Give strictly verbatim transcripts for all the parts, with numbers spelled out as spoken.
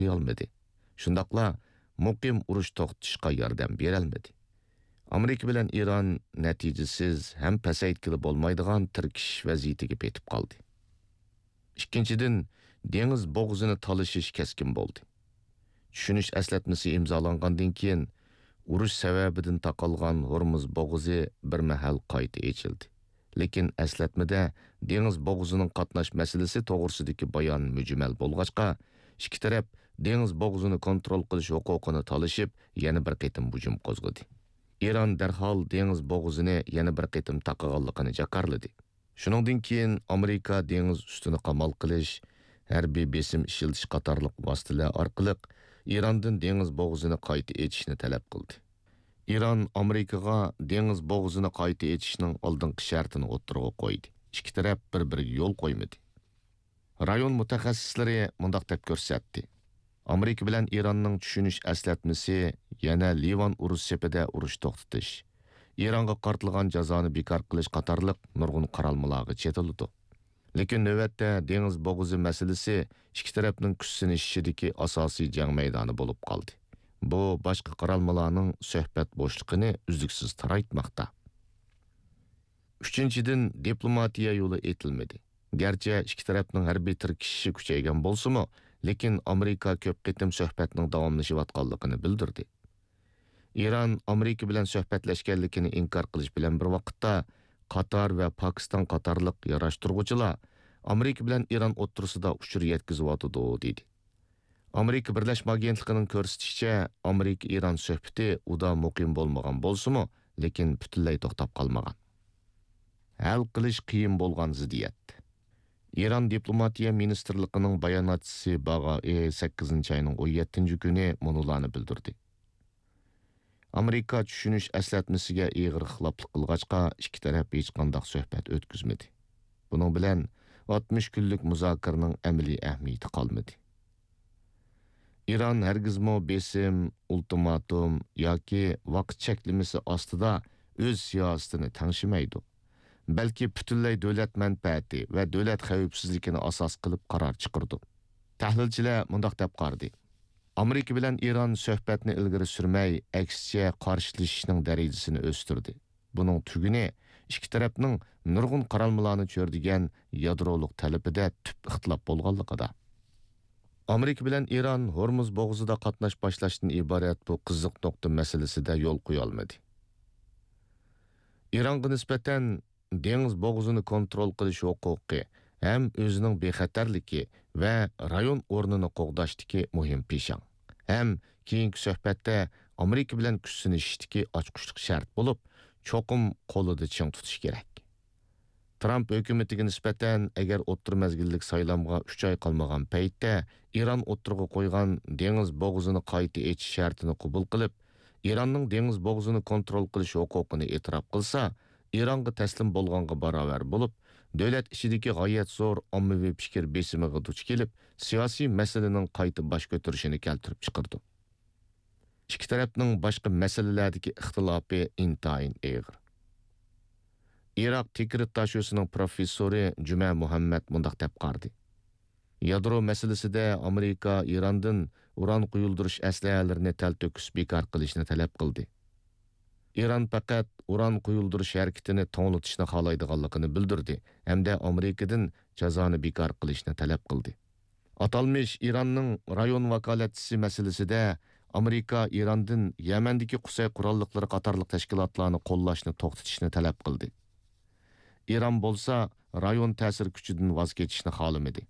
قويالمىدى. شۇنداقلا مۇقىم ئۇرۇش توختىتىشقا ياردەم بېرەلمىدى. ئامېرىكا بىلەن ئىران نەتىجىسىز ھەم پەسەيتكىلى بولمايدىغان تىركىشىش ۋەزىيىتىگە پېتىپ قالدى. ئىككىنچىدىن، دېڭىز بوغۇزىنى تالىشىش كەسكىن بولدى. چۈشىنىش ئەسلەتمىسى ئىمزالانغاندىن كېيىن، ئۇرۇش سەۋەبىدىن تاقالغان ھورمۇز بوغۇزى بىر مەھەل قايتا ئېچىلدى. لېكىن ئەسلەتمىدە دېڭىز بوغۇزىنىڭ قاتناش مەسىلىسى توغرىسىدىكى بايان مۈجمەل بولغاچقا، ئىككى تەرەپ دېڭىز بوغۇزىنى كونترول قىلىش ھوقۇقىنى تالىشىپ، يەنە بىر قېتىم ھۇجۇم قوزغىدى. ئىران دەرھال دېڭىز بوغۇزىنى يەنە بىر قېتىم تاقىغانلىقىنى جاكارلىدى. شۇنىڭدىن كېيىن ئامېرىكا دېڭىز ئۈستىنى قامال قىلىش، ھەربىي بېسىم ئىشلىتىش قاتارلىق ۋاسىتىلەر ئارقىلىق ئىراندىن دېڭىز بوغۇزىنى قايتا ئېچىشنى تەلەپ قىلدى. ئىران ئامېرىكىغا دېڭىز بوغۇزىنى قايتا ئېچىشنىڭ ئالدىنقى شەرتىنى ئوتتۇرىغا قويدى. ئىككى تەرەپ بىر-بىرىگە يول قويمىدى. رايون مۇتەخەسسىسلىرى مۇنداق دەپ كۆرسەتتى: ئامېرىكا بىلەن ئىراننىڭ چۈشىنىش ئەسلەتمىسى يەنە لىۋان ئۇرۇش سېپىدە ئۇرۇش توختىتىش، ئىرانغا قارىتىلغان جازانى بىكار قىلىش قاتارلىق نۇرغۇن قارالمىلارغا چېتىلىدۇ. لېكىن نۆۋەتتە دېڭىز بوغۇزى مەسىلىسى ئىككى تەرەپنىڭ كۈچ سىنىشىشىدىكى ئاساسىي جەڭ مەيدانى بولۇپ قالدى. بۇ باشقا قارالمىلارنىڭ سۆھبەت بوشلۇقىنى ئۈزلۈكسىز تارايتماقتا. ئۈچىنچىدىن، دىپلوماتىيە يولى ئېتىلمىدى. گەرچە ئىككى تەرەپنىڭ ھەربىي تىركىشىشى كۈچەيگەن بولسىمۇ، لېكىن ئامېرىكا كۆپ قېتىم سۆھبەتنىڭ داۋاملىشىۋاتقانلىقىنى بىلدۈردى. ئىران ئامېرىكا بىلەن سۆھبەتلەشكەنلىكىنى ئىنكار قىلىش بىلەن بىر ۋاقىتتا، قاتار ۋە پاكىستان قاتارلىق ياراشتۇرغۇچىلار ئامېرىكا بىلەن ئىران ئوتتۇرىسىدا ئۇچۇر يەتكۈزۈۋاتىدۇ، دېدى. ئامېرىكا بىرلەشمە ئاگېنتلىقىنىڭ كۆرسىتىشىچە، ئامېرىكا-ئىران سۆھبىتى ئۇدا مۇقىم بولمىغان بولسىمۇ، لېكىن پۈتۈنلەي توختاپ قالمىغان. ھەل قىلىش قىيىن بولغان زىددىيەت. ئىران دىپلوماتىيە مىنىستىرلىقىنىڭ باياناتچىسى باغائى سەككىزىنچى ئاينىڭ ئون يەتتىنچى كۈنى مۇنۇلارنى بىلدۈردى: ئامېرىكا چۈشىنىش ئەسلەتمىسىگە ئېغىر خىلاپلىق قىلغاچقا، ئىككى تەرەپ ھېچقانداق سۆھبەت ئۆتكۈزمىدى. بۇنىڭ بىلەن ئاتمىش كۈنلۈك مۇزاكىرىنىڭ ئەمەلىي ئەھمىيىتى قالمىدى. ئىران ھەرگىزمۇ بېسىم، ئۇلتىماتوم ياكى ۋاقىت چەكلىمىسى ئاستىدا ئۆز سىياسىتىنى تەڭشىمەيدۇ، بەلكى پۈتۈنلەي دۆلەت مەنپەئەتى ۋە دۆلەت خەۋپسىزلىكىنى ئاساس قىلىپ قارار چىقىرىدۇ. تەھلىلچىلەر مۇنداق دەپ قارىدى: ئامېرىكا بىلەن ئىران سۆھبەتنى ئىلگىرى سۈرمەي، ئەكسىچە قارشىلىشىشنىڭ دەرىجىسىنى ئۆستۈردى. بۇنىڭ تۈگۈنى ئىككى تەرەپنىڭ نۇرغۇن قارالمىلارنى چۆرىدىگەن يادرولۇق تەلىپىدە تۈپ ئىختىلاپ بولغانلىقىدا. ئامېرىكا بىلەن ئىران ھورمۇز بوغۇزىدا قاتناش باشلاشتىن ئىبارەت بۇ قىزىق نۇقتا مەسىلىسىدە يول قويالمىدى. ئىرانغا نىسبەتەن دېڭىز بوغۇزىنى كونترول قىلىش ھوقۇقى ھەم ئۆزىنىڭ بىخەتەرلىكى ۋە رايون ئورنىنى قوغداشتىكى مۇھىم پىشاڭ ھەم كېيىنكى سۆھبەتتە ئامېرىكا بىلەن كۈچ سىنىشىشتىكى ئاچقۇچلۇق شەرت بولۇپ، چوقۇم قولىدا چىڭ تۇتۇش كېرەك. ترامپ ھۆكۈمىتىگە نىسبەتەن، ئەگەر ئوتتۇرا مەزگىللىك سايلامغا ئۈچ ئاي قالمىغان پەيتتە ئىران ئوتتۇرىغا قويغان دېڭىز بوغۇزىنى قايتا ئېچىش شەرتىنى قوبۇل قىلىپ، ئىراننىڭ دېڭىز بوغۇزىنى كونترول قىلىش ھوقۇقىنى ئېتىراپ قىلسا، ئىرانغا تەسلىم بولغانغا باراۋەر بولۇپ، دۆلەت ئىچىدىكى غايەت زور ئاممىۋى پىكىر بېسىمىغا دۇچ كېلىپ، سىياسىي مەسىلىنىڭ قايتا باش كۆتۈرۈشىنى كەلتۈرۈپ چىقىرىدۇ. ئىككى تەرەپنىڭ باشقا مەسىلىلەردىكى ئىختىلاپى ئىنتايىن ئېغىر. ئىراق تىكرىت داشۆسىنىڭ پروفېسسورى جۈمە مۇھەممەد مۇنداق دەپ قارىدى: يادرو مەسىلىسىدە ئامېرىكا ئىراندىن ئۇران قۇيۇلدۇرۇش ئەسلىھەلىرىنى تەلتۆكۈس بىكار قىلىشنى تەلەپ قىلدى. ئىران پەقەت ئۇران قۇيۇلدۇرۇش ھەرىكىتىنى توڭلىتىشنى خالايدىغانلىقىنى بىلدۈردى ھەمدە ئامېرىكىدىن جازانى بىكار قىلىشنى تەلەپ قىلدى. ئاتالمىش ئىراننىڭ رايون ۋاكالەتچىسى مەسىلىسىدە ئامېرىكا ئىراندىن يەمەندىكى قۇسەي قوراللىقلىرى قاتارلىق تەشكىلاتلارنى قوللاشنى توختىتىشنى تەلەپ قىلدى. ئىران بولسا رايون تەسىر كۈچىدىن ۋاز كېچىشنى خالىمىدى.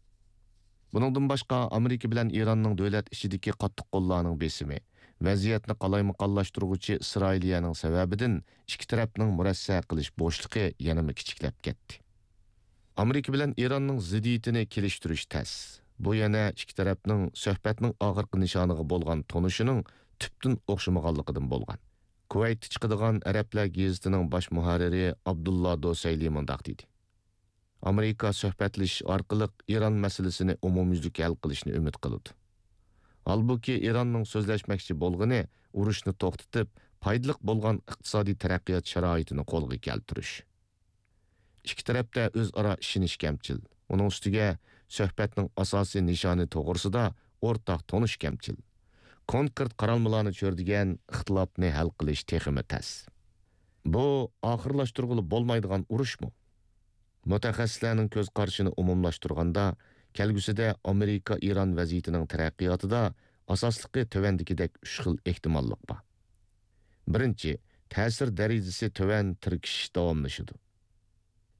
بۇنىڭدىن باشقا، ئامېرىكا بىلەن ئىراننىڭ دۆلەت ئىچىدىكى قاتتىق قوللارنىڭ بېسىمى، ۋەزىيەتنى قالايمىقانلاشتۇرغۇچى ئىسرائىلىيەنىڭ سەۋەبىدىن ئىككى تەرەپنىڭ مۇرەسسە قىلىش بوشلۇقى يەنىمۇ كىچىكلەپ كەتتى. ئامېرىكا بىلەن ئىراننىڭ زىددىيىتىنى كېلىشتۈرۈش تەس. بۇ يەنە ئىككى تەرەپنىڭ سۆھبەتنىڭ ئاخىرقى نىشانىغا بولغان تونۇشىنىڭ تۈپتىن ئوخشىمىغانلىقىدىن بولغان. كۇۋەيتتە چىقىدىغان ئەرەبلەر گېزىتىنىڭ باش مۇھەررىرى ئابدۇللا دوسەيلى مۇنداق دېدى: ئامېرىكا سۆھبەتلىشىش ئارقىلىق ئىران مەسىلىسىنى ئومۇميۈزلۈك ھەل قىلىشنى ئۈمىد قىلىدۇ. ھالبۇكى، ئىراننىڭ سۆزلەشمەكچى بولغىنى ئۇرۇشنى توختىتىپ، پايدىلىق بولغان ئىقتىسادىي تەرەققىيات شارائىتىنى قولغا كەلتۈرۈش. ئىككى تەرەپتە ئۆزئارا ئىشىنىش كەمچىل. ئۇنىڭ ئۈستىگە، سۆھبەتنىڭ ئاساسىي نىشانى توغرىسىدا ئورتاق تونۇش كەمچىل. كونكرېت قارالمىلارنى چۆرىدىگەن ئىختىلاپنى ھەل قىلىش تېخىمۇ تەس. بۇ ئاخىرلاشتۇرغىلى بولمايدىغان ئۇرۇشمۇ؟ مۇتەخەسسىسلەرنىڭ كۆز قارىشىنى ئومۇملاشتۇرغاندا، كەلگۈسىدە ئامېرىكا-ئىران ۋەزىيىتىنىڭ تەرەققىياتىدا ئاساسلىقى تۆۋەندىكىدەك ئۈچ خىل ئېھتىماللىق بار. بىرىنچى، تەسىر دەرىجىسى تۆۋەن تىركىشىش داۋاملىشىدۇ.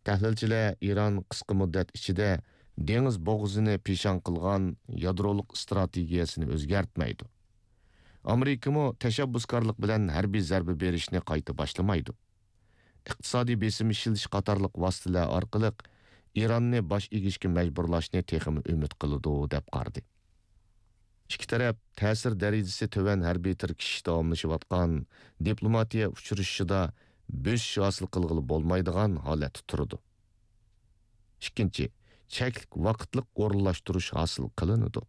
تەھلىلچىلەر ئىران قىسقا مۇددەت ئىچىدە دېڭىز بوغۇزىنى پىشاڭ قىلغان يادرولۇق ئىستراتېگىيەسىنى ئۆزگەرتمەيدۇ. ئامېرىكىمۇ تەشەببۇسكارلىق بىلەن ھەربىي زەربە بېرىشنى قايتا باشلىمايدۇ. ئىقتىسادىي بېسىم ئىشلىتىش قاتارلىق ۋاسىتىلەر ئارقىلىق ئىراننى باش ئېگىشكە مەجبۇرلاشنى تېخىمۇ ئۈمىد قىلىدۇ، دەپ قارىدى. ئىككى تەرەپ تەسىر دەرىجىسى تۆۋەن ھەربىي تىركىشىش داۋاملىشىۋاتقان دىپلوماتىيە ئۇچرىشىشىدا بۆسۈش ھاسىل قىلغىلى بولمايدىغان ھالەتتە تۇرىدۇ. ئىككىنچى، چەكلىك ۋاقىتلىق ئورۇنلاشتۇرۇش ھاسىل قىلىنىدۇ.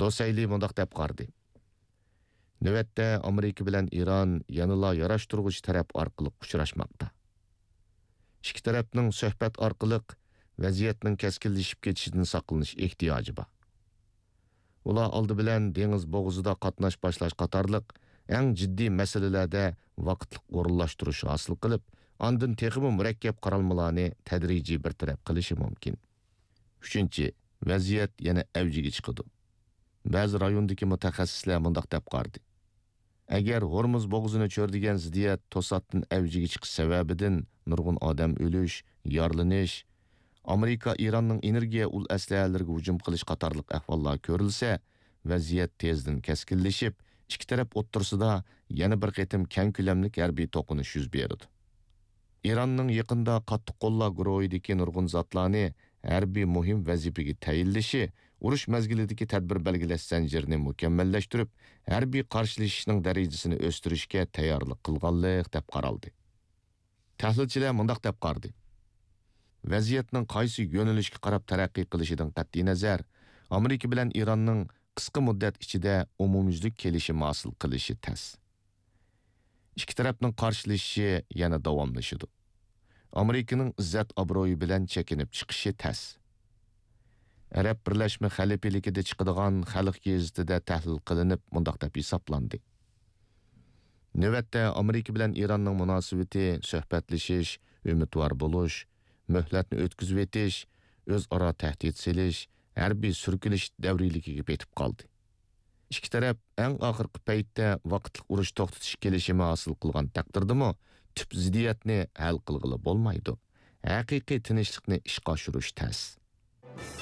دوسەيلى مۇنداق دەپ قارىدى: نۆۋەتتە ئامېرىكا بىلەن ئىران يەنىلا ياراشتۇرغۇچى تەرەپ ئارقىلىق ئۇچراشماقتا. ئىككى تەرەپنىڭ سۆھبەت ئارقىلىق ۋەزىيەتنىڭ كەسكىنلىشىپ كېتىشىدىن ساقلىنىش ئېھتىياجى بار. ئۇلار ئالدى بىلەن دېڭىز بوغۇزىدا قاتناش باشلاش قاتارلىق ئەڭ جىددىي مەسىلىلەردە ۋاقىتلىق ئورۇنلاشتۇرۇش ھاسىل قىلىپ، ئاندىن تېخىمۇ مۇرەككەپ قارالمىلارنى تەدرىجىي بىر تەرەپ قىلىشى مۇمكىن. ئۈچىنچى، ۋەزىيەت يەنە ئەۋجىگە چىقىدۇ. بەزى رايوندىكى مۇتەخەسسىسلەر مۇنداق دەپ قارىدى: ئەگەر ھورمۇز بوغۇزىنى چۆرىدىگەن زىددىيەت توساتتىن ئەۋجىگە چىقىش سەۋەبىدىن نۇرغۇن ئادەم ئۆلۈش، يارىلىنىش، ئامېرىكا ئىراننىڭ ئېنېرگىيە ئۇل ئەسلىھەلىرىگە ھۇجۇم قىلىش قاتارلىق ئەھۋاللار كۆرۈلسە، ۋەزىيەت تېزدىن كەسكىنلىشىپ، ئىككى تەرەپ ئوتتۇرىسىدا يەنە بىر قېتىم كەڭ كۆلەملىك ھەربىي توقۇنۇش يۈز بېرىدۇ. ئىراننىڭ يېقىندا قاتتىق قوللار گۇرۇھىدىكى نۇرغۇن زاتلارنى ھەربىي مۇھىم ۋەزىپىگە تەيىنلىشى، ئۇرۇش مەزگىلىدىكى تەدبىر بەلگىلەش زەنجىرىنى مۇكەممەللەشتۈرۈپ، ھەربىي قارشىلىشىشنىڭ دەرىجىسىنى ئۆستۈرۈشكە تەييارلىق قىلغانلىق، دەپ قارالدى. تەھلىلچىلەر مۇنداق دەپ قارىدى: ۋەزىيەتنىڭ قايسى يۆنىلىشكە قاراپ تەرەققىي قىلىشىدىن قەتئىينەزەر، ئامېرىكا بىلەن ئىراننىڭ قىسقا مۇددەت ئىچىدە ئومۇميۈزلۈك كېلىشىم ھاسىل قىلىشى تەس. ئىككى تەرەپنىڭ قارشىلىشىشى يەنە داۋاملىشىدۇ. ئامېرىكىنىڭ ئىززەت-ئابرۇيى بىلەن چېكىنىپ چىقىشى تەس. ئەرەب بىرلەشمە خەلىپىلىكىدە چىقىدىغان خەلق گېزىتىدە تەھلىل قىلىنىپ، مۇنداق دەپ ھېسابلاندى: نۆۋەتتە ئامېرىكا بىلەن ئىراننىڭ مۇناسىۋىتى سۆھبەتلىشىش، ئۈمىدۋار بولۇش، مۆھلەتنى ئۆتكۈزۈۋېتىش، ئۆزئارا تەھدىت سېلىش، ھەربىي سۈركىلىش دەۋرىيلىكىگە پېتىپ قالدى. ئىككى تەرەپ ئەڭ ئاخىرقى پەيتتە ۋاقىتلىق ئۇرۇش توختىتىش كېلىشىمى ھاسىل قىلغان تەقدىردىمۇ، تۈپ زىددىيەتنى ھەل قىلغىلى بولمايدۇ. ھەقىقىي تىنچلىقنى ئىشقا ئاشۇرۇش تەس.